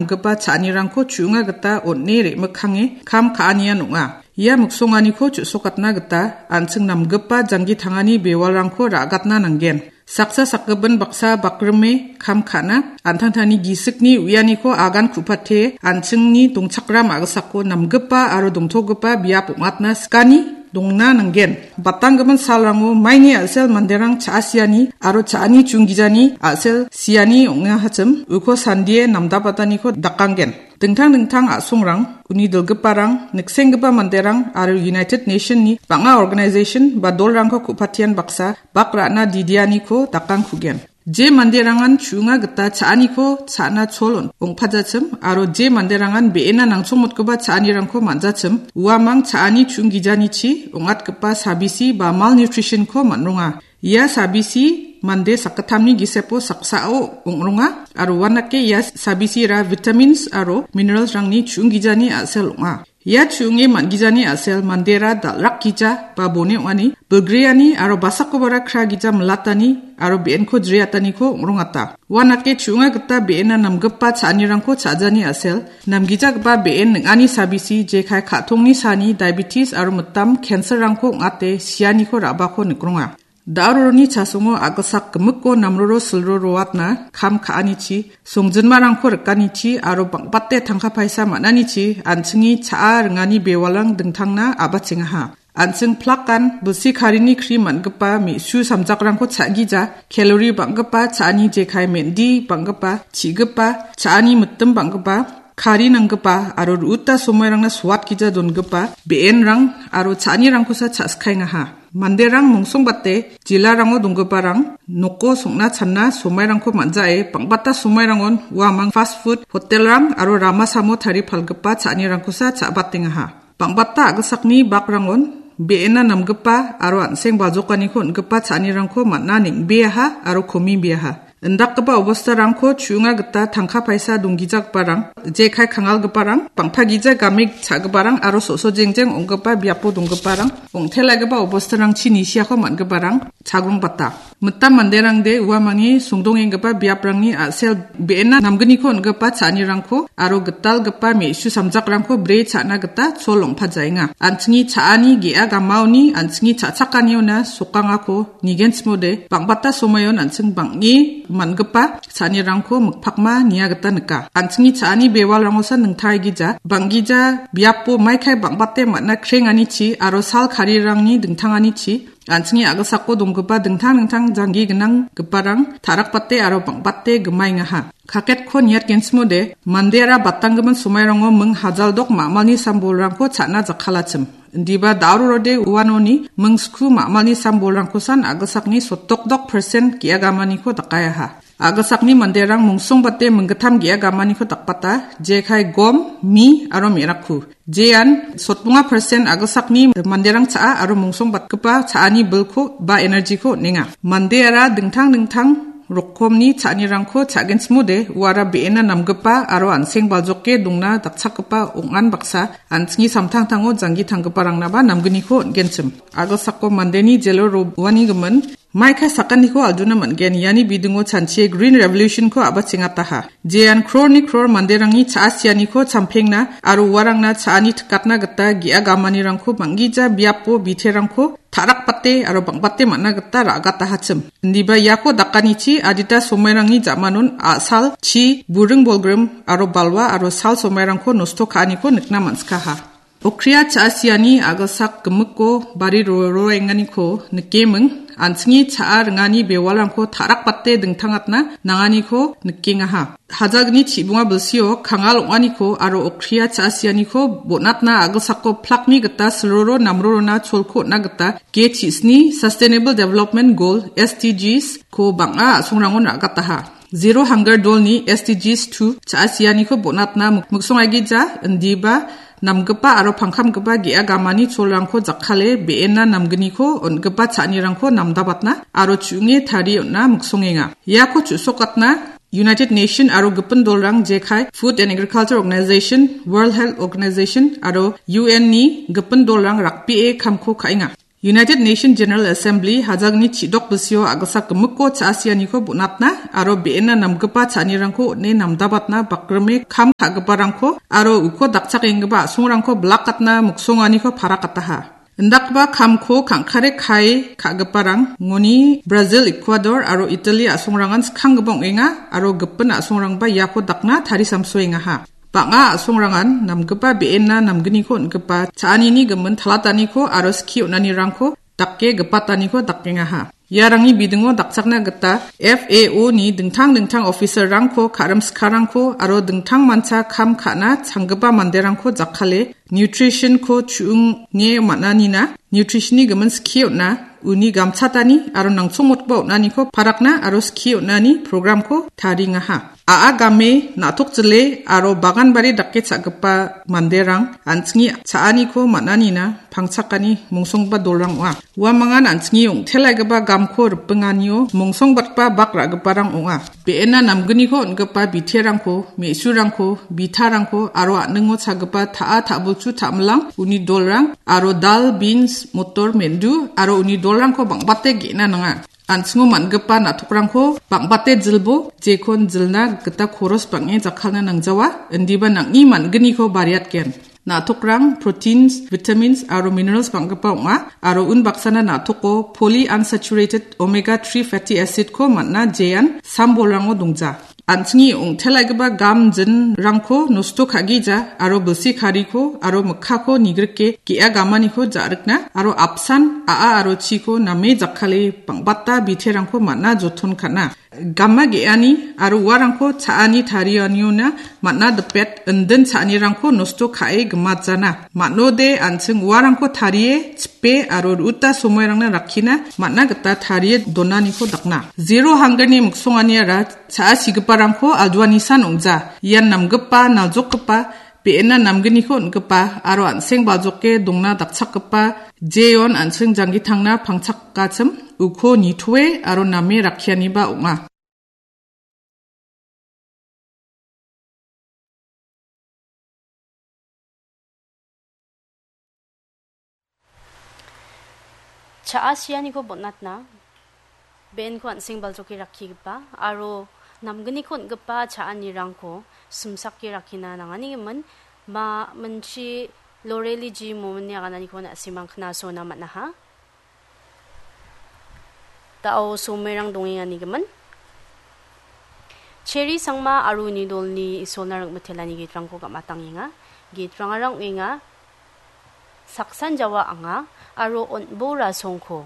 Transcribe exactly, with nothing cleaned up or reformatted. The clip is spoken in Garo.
namgipa cha·anirangko chu·onga gita on·e re·mikkange kam ka·anian ong·a. Ia miksonganiko chu·sokatna gita an·ching namgipa janggi tangani bewalrangko ra·gatna nanggen. Saksa sakgipin baksa bakrime kam ka·na, an·tangtangni gisikni uianiko agan ku·pate, an·chingni dongchakram a·gisako namgipa aro dongtogipa biap ong·atna sikani dongna nanggen. Batanggimin salrango maini a·sel manderang cha·asiani aro cha·ani chunggijani a·sel siani ong·ahachim, uko sandie namdabataniko dakanggen. Dingtang dingtang a·songrang, uni dilgiparang, niksenggipa manderang aro United Nation-ni bang·a organization ba dolrangko ku·patian baksa bak ra·na didianiko dakangkugen. Je manderangan chu·onga gita cha·aniko cha·na chol on-, ong·pajachim aro je manderangan be·ena nangchongmotgipa cha·anirangko man·jachim, uamang cha·ani chunggijanichi ong·atgipa sabisi ba malnutrition-ko man·ronga. Ia sabisi mande sakgittamni gisepo saksao ong·ronga aro uandake ia sabisira vitamins aro minerals-rangni chu·onggijani a·sel ong·a. Ia chu·onge man·gijani a·sel mandera dal·rakgija ba bone ong·ani, bilgreani aro basakobara kragija milatani aro be·enko jriataniko ong·rongata. Uandake chu·onga gita be·ena namgipa cha·anirangko cha·jani a·sel, namgijagipa be·en ning·ani sabisi jekai ka·tongni sani diabetes aro mitam cancer-rangko ong·ate sianiko ra·bako nikronga. Da·roroni chasongo a·gilsak gimikko namroro silro roatna kam ka·anichi, songjinmarangko rikanichi aro bang·bate tangka paisa man·anichi an·chingni cha·a ringani bewalrang dingtangna a·bachengaha. An·ching plakan bilsi karini kri man·gipa me·su samjakrangko cha·gija, kalori bang·gipa cha·ani jekai mendi bang·gipa, chi·gipa, cha·ani mitim bang·gipa, kari nanggipa aro ru·uta somoirangna soatgija dongipa be·enrang aro cha·anirangkosa cha·sikaengaha. Manderang mongsongbate jilarango donggiparang noko song·na channa somoirangko man·jae bang·bata somoirangon uamang fast food hotel-rang aro rama samo tarie palgipa cha·anirangkosa cha·batengaha. Bang·bata a·gilsakni bakrangon be·ena namgipa aro an·seng baljokaniko on·gipa cha·anirangko man·a neng·beaha aro komibeaha. Indakgipa obostarangko chu·onga gita tangka paisa donggijagiparang, jekai kangalgiparang, bang·pagija game cha·giparang aro so·so jengjeng ong·gipa biapo donggiparang, ong·telagipa obostarangchi nisiako man·giparang chagrong bata. Mitam manderangde uamangni songdongenggipa biaprangni a·sel be·ena namgniko on·gipa cha·anirangko aro gitalgipa me·su samjakrangko bre cha·na gita chol ong·pajaenga. An·chingni cha·ani ge·a gamaoni an·chingni cha·chakaniona sokangako nigenchimode, bang·bata somoion an·ching bang·e man·gipa cha·anirangko mikpakma nia gita nika. An·chingni cha·ani bewalrangosa ningtaigija, bang·gija biapo maikai bang·bate man·a krenganichi aro sal karirangni dingtanganichi, an·chingni a·gilsako donggipa dingtang dingtang janggi gnanggiparang ta·rakbate aro bang·bate gimaengaha. Kaketko niatgenchimode, mandeara batanggimin somairango ming hajaldok ma·malni sambolrangko cha·na jakkalachim. Indiba da·rorode uanoni ming sku ma·malni sambolrangkosan a·gilsakni sotdokdok persen ge·a gamaniko dakaeaha. A·gilsakni manderang mongsongbate minggittam ge·a gamaniko dakbata, jekai gom, mi aro me·rakku. Jean sotbonga persen a·gilsakni manderang cha·a aro mongsongbatgipa cha·ani bilko ba energy-ko on·enga. Mandeara dingtang dingtang rokomni cha·anirangko cha·genchimode, uara be·ena namgipa aro an·seng baljoke dongna dakchakgipa ong·an baksa an·chingni samtangtango janggi tanggiparangna ba namgniko on·genchim. A·gilsako mandeni jelo ro-, roani gimin, maikai sakaniko alduna man·gen, iani bidingo chanchie Green Revolution-ko a·bachengataha. Jean crore-ni crore manderangni cha·a sianiko champengna aro uarangna cha·ani tikatna gita ge·a gamanirangko bang·gija biapo biterangko ta·rakbate aro bang·bate man·a gita ra·gatahachim. Indiba iako dakanichi adita somairangni ja·manon a·sal, chi, buring bolgrim aro balwa aro sal somairangko nosto ka·aniko nikna man·sikaha. Okria cha·a siani a·gilsak gimikko bari ro-, roenganiko nikeming, an·chingni cha·a ringani bewalrangko ta·rakbate dingtangatna nanganiko nikengaha. Hajalgni chibonga bilsio kangal ong·aniko aro okria cha·a sianiko bon·atna a·gilsako plakni gita silroro namrorona cholko on·na gita G chisni Sustainable Development Goal, S D Gs, ko bang·a a·songrangon ra·gataha. Zero Hunger Dolni S D Gs two cha·a sianiko bon·atna mik-, miksongaigija indiba namgipa aro pangkamgipa ge·a gamani cholrangko jakkale be·ena namgniko on·gipa cha·anirangko namdabatna aro chu·onge tarie on·na miksongenga. Iako chu·sokatna United Nation aro gipin dolrang jekai Food and Agriculture Organization, World Health Organization aro U N-ni gipin dolrang rakbee kamko ka·enga. United Nations General Assembly hajalni chidok bisio agilsak gimikko cha·asianiko bonatna aro be·ena namgipa cha·anirangko on·e namdabatna bakrime kam ka·giparangko aro uko dakchakenggipa a·songrangko bilakatna miksonganiko parakataha. Indakgipa kamko kangkare kae ka·giparang ngoni Brazil, Ecuador aro Italy a·songrangan skanggipa ong·enga aro gipin a·songrangba iako dakna tarisamsoengaha. Bang·a a·songrangan namgipa be·ena namgniko on·gipa cha·anini gimin talataniko aro skie on·anirangko dake gipataniko dakengaha. Iarangni bidingo dakchakna gita F A O ni dingtang dingtang officer-rangko, ka·rim sikarangko aro dingtang mancha kam ka·na changgipa manderangko jakkale nutrition-ko chu·nge man·anina, nutrition-ni gimin skie on·a, uni gamchatani aro nangchongmotgipa on·aniko parakna aro skie on·ani program-ko tariengaha. A·a game, na·tok jile aro bagan bari dake cha·gipa manderang an·chingni cha·aniko man·anina pangchakani mongsonggipa dolrang ong·a. Uamangan an·chingni ong·telaigipa gamko ripinganio mongsongbatgipa bak ra·giparang ong·a. Be·ena namgniko on·gipa biterangko, me·surangko, bitarangko aro a·ningo chagipa ta·a, ta·bulchu, ta·milang, uni dolrang aro dal, beans, motor, mendu aro uni dolrangko bang·bate ge·na nanga. An·chingo man·gipa na·tokrangko bang·bate jilbo, jekon jilna gita koros bang·e jakkalna nangjawa, indiba nang·ni man·gniko bariatgen. Na·tokrang proteins, vitamins aro minerals bang·gipa ong·a, aro unbaksana na·toko polyunsaturated omega three fatty acid-ko man·a, jean sam bolrango dongja. An·chingni ong·telaigipa gam jinrangko nosto ka·gija aro bilsi kariko aro mikkako nigrike ge·a gamaniko ja·rikna aro apsan a·a aro chiko name jakkale bang·bata biterangko man·a, joton ka·na. Gama ge·ani aro uarangko cha·ani tarianiona man·a dipet indin cha·anirangko nosto ka·e gimatjana. Man·ode an·ching uarangko tarie chipe aro ru·ota somoirangna rakkina man·a gita tarie donaniko dakna. Zero hunger-ni miksonganiara cha·asigiparangko alduanisan ong·ja. Ian namgipa, naljokgipa, be·ena namgniko on·gipa aro an·seng baljoke dongna dakchakgipa jeon an·seng janggitangna pangchakachim uko nitoe aro name rakkianiba ong·a. Cha·a sianiko bon·atna, benko an·seng baljoke rakkigipa aro namgniko on·gipa cha·anirangko simsake rakkina nanganigimin, ma minchi Loreli ji momini agananiko na·simang knasona man·aha. Da·o somerang dongenganigimin. Cheri Sangma aro uni dolni Isolna ring·mitelani gitrangko gam·atangenga. Gitrangara ong·enga, Saksan Jawa anga aro On·bo Rasongko